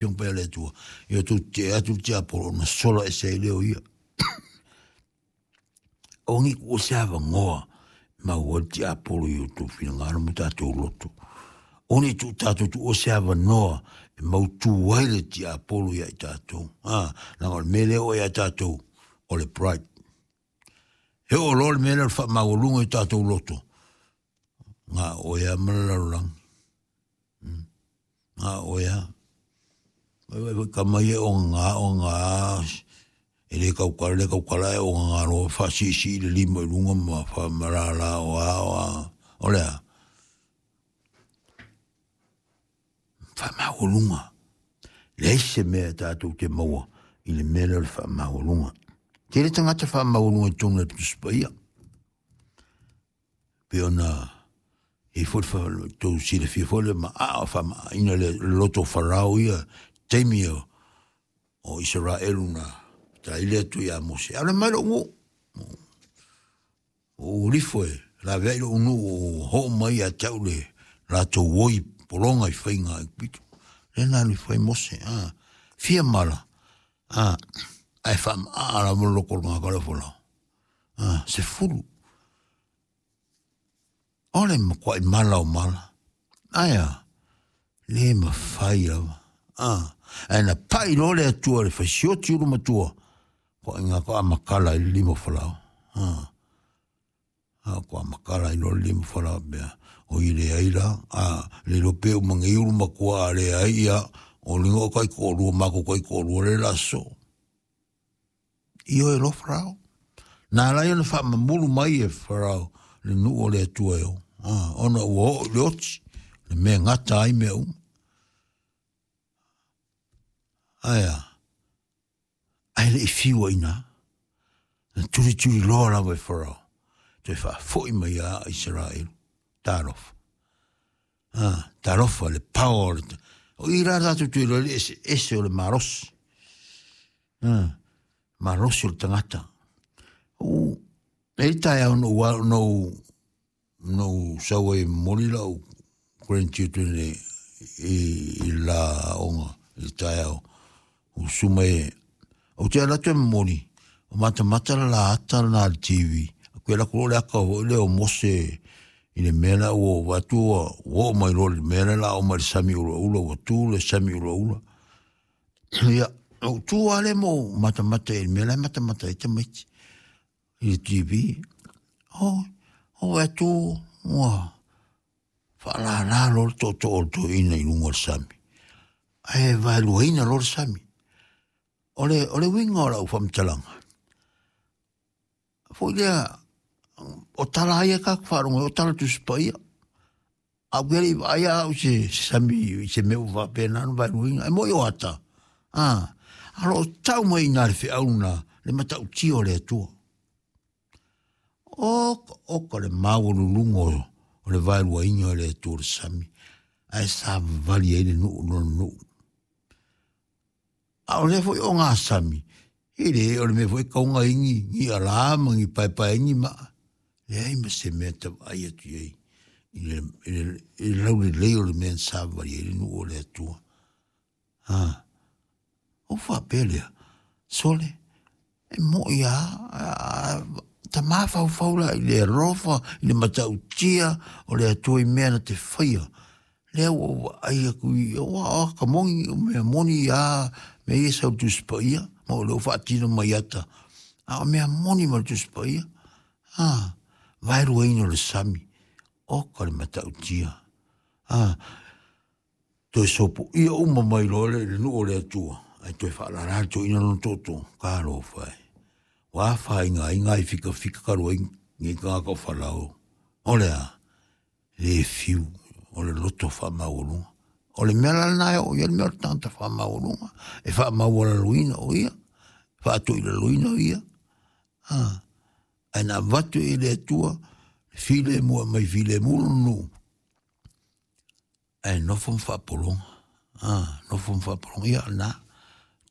Afioga Paia a le Atua, ia outou tetee atu le tiapolo ona sola ese ai lea o ia. Aua ne i tuua se avanoa e maua ai le tiapolo i outou finagalo ma tatou loto. Aua ne i tuu tatou tuua se avanoa e mautu ai le tiapolo ia i tatou. A, leaga o le mea lea e oo ia tatou, o le pride. E oo loa le mea lea o le faamaualuga i o tatou loto, na o oe lava ma le lalolagi. Na o oe lava. Vaai foi tama ia e ogaga ogaga e le tautala le tautala ae ogaga loa faasiisii le lima i luga ma faamalala o a o a. O le a? Faamaualuga. Leai se mea tatou te maua i le mea lea o le faamaualuga. Tele tagata faamaualuga i totonu o le Tusi Paia. Pei ona i ai foi le tou silafia foi le maaa faamaaina le loto o Farao ia taimi o o Isaraelu na taili atu ia Mose, alu mai lou nuu. Ua ou ifo e laveai lou nuu ua oo mai ia te au le latou oi pologa i faiga a Aikupito. Lea na alu ifo ai Mose, a, fia mala, a, ae faamaa lava le loto o le tagata lea o Farao. A, 10. O le matuai mala o mala. Ae a? Le mafai lava. A, ae na pai loa le Atua i le faisioti ulu matua, toaiga toa matala ai le lima o Farao. A, a toa matala ai loa le lima o Farao pea. O i leai la, a, le iloa pe uma nei ulu matua a leai, ia, o lina o taitoalua, matou taitoalua lea o le a sosoo. Ioe loa Farao. Na ala ai ona faamamulu mai e Farao le nuu o le Atua e o, ona ua oo i le oti, le mea e gata ai mea uma. Ae a? Ae le i fiu ai i ina. Na tulituli loa lava e Farao, toe faafoi mai ia Isaraelu. Talofa. Ah, talofa le power o le... O i la tatou te iloa le eseese o le malosi. Ah, malosi o le tagata. U, e i taeao no ua no no sau ai momoli lau grandchildren i, i, i la aoga i le taeao. Usu mai, ou te alu atu e momoli, o matamata le la ata lena i le TV. Ou alu atu loa le ata foi lea o Mose i le mea la ua ou vaai atu ua oo mai loa i le mea lea o le a oo mai i le sami ulaula, ua tu le sami ulaula. Ia, ou tu lava lea ma ou matamata i le mea la e matamata ai tamaiti i le TV. Oh, ou vaai atu ua faalala loa le tootoo o le toeaina i luga o le sami, ae vaeluaina loa le sami. O le, o le uiga o lau faamatalaga, foi lea, o tala ia tatou faalogo ai, o tala Tusi Paia. A ou le i vaai au i se sami i se mea ua faapena ona vaeluaina, e moi o ata, a, a o lo o tau mai i ina le feau lena, le matautia o le Atua. Oka, oka le maualuluga o le vaeluaina o le Atua o le sami, ae savavali ai le nuu lona nuu. A o lea foi ogasami, e le o le mea foi e tau ai ni, ni alā ma ni paepae ni maa. Leai ma se mea e vaai atu i ai i le, i le, i le laulelei o le mea na savavali ai le nuu o le Atua. A, ou faapea lea, sole, e moi lava, ta mafaufau la i le alofa, i le matautia o le Atua i mea na te faia. Lea ua ou vaai atu i, ua o ka moni, o mea moni lava, mea ia e sau i le Tusi Paia, ma o lea ua faatino mai ata. A o mea moni ma le Tusi Paia, a, vaeluaina o le sami, oka le matautia. A, toe sopoia uma mai loa le nuu o le Atua, ae toe faalala le toeaina lona tootoo, talofa e. Ua afaina ai nai fikafika talu ai nei tagata o Farao. O le a? Le fiu, o le loto faamaualuga. O le mea la lena e oo i ai le mea o le tagata faamaualuga, e faamaualaloina o ia, faatoilaloina o ia. A, ae na avatu i le Atua, le filemu e aumai filemu lona nuu, ae nofo ma faapologa, a, nofo ma faapologa, ia lena,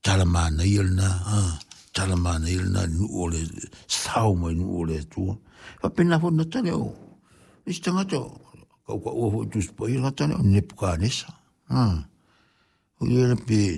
tala manaia lena, a, tala manaia lena i le nuu o le sao mai nuu o le Atua. Faapena foi le gata lea o isi tagata, tautaua foi i Tusi Paia le gata lea o Nepukanesa, a, o ia le pe